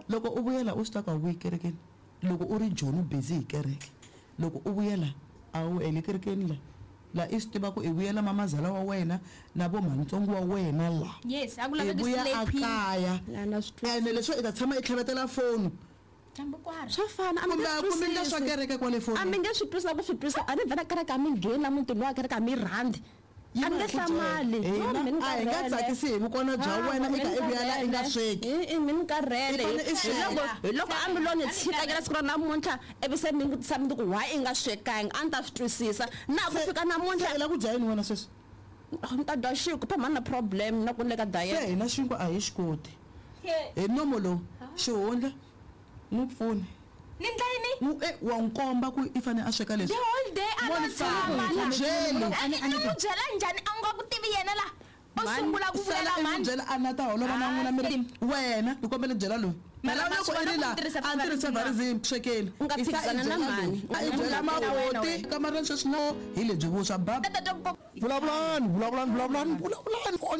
Loko u vuyela u swi tiva ku a wu vuyi kerekeni. Loko u ri Joni u busy hi kereke. Loko u vuyela a wu ele kerekeni la. La i swi tiva ku i vuyela mamazala wa wena na vo mhanitsongo wa wena la. Yes, a ku I laveki vuya slay a queen. kaya. La na swi twisisa. Ene leswo i ta tshama i tlhavetela foni. Dyambu kwari. Swa fana, a mi Kumbe nge a swi ku mi nga swa twisisi. kereke kwale A mi fonini. nge swi twisisi na ku swi twisisa. A ni vhela kereke a mi ngheni la mutini wa kereke a mi rhandzi. Yi A ni va nge hi ku byela. hlamali. Yo, Hina mi ni a hi nga karhele. tsakisi hi vukona bya Ah, wena mi i ka ni i vuya la i nga karhele. sweki. I mi ni karhele. I fanele i Hi sweka. loko hi loko a mi lo ni tshika nyana siku ra namuntlha ivi se mi vutisa mi ku why i nga swekanga a ni ta swi twisisa. Na ku Se fika se namuntlha i la ku dya yini wena sweswi? ni ta dya xinkwa phe mhani na problem na ku ni le ka Se diet. hina xinkwa a hi xi koti. Hi nomo lowu xihundla n'wi pfuni. Ni ndla yini? N'wi e wa n'wi komba ku i fanele a sweka The leswi. whole day a Mo lo ni fanele tshama ku la. n'wi byeli. A ni n'wi byela njhani a nga ku tivi yena la? U sungula ku Sala vulela i n'wi mhani. byela a na ta holova na n'wina mi ri wena ni kombela byela loyi. Mara Phela ma loko swi i ri vona la ku ni tirhisa a ni tirhisa favouritism favouritism swekeni. U nga I sa i phikizana na byela mhani. loyi. A i byela Na wena, makoti wena. kamareni sweswi no hi lebyi vuswa bab. Ta twa ku Vulavulani, vulavulani, vulavulani, vulavulani.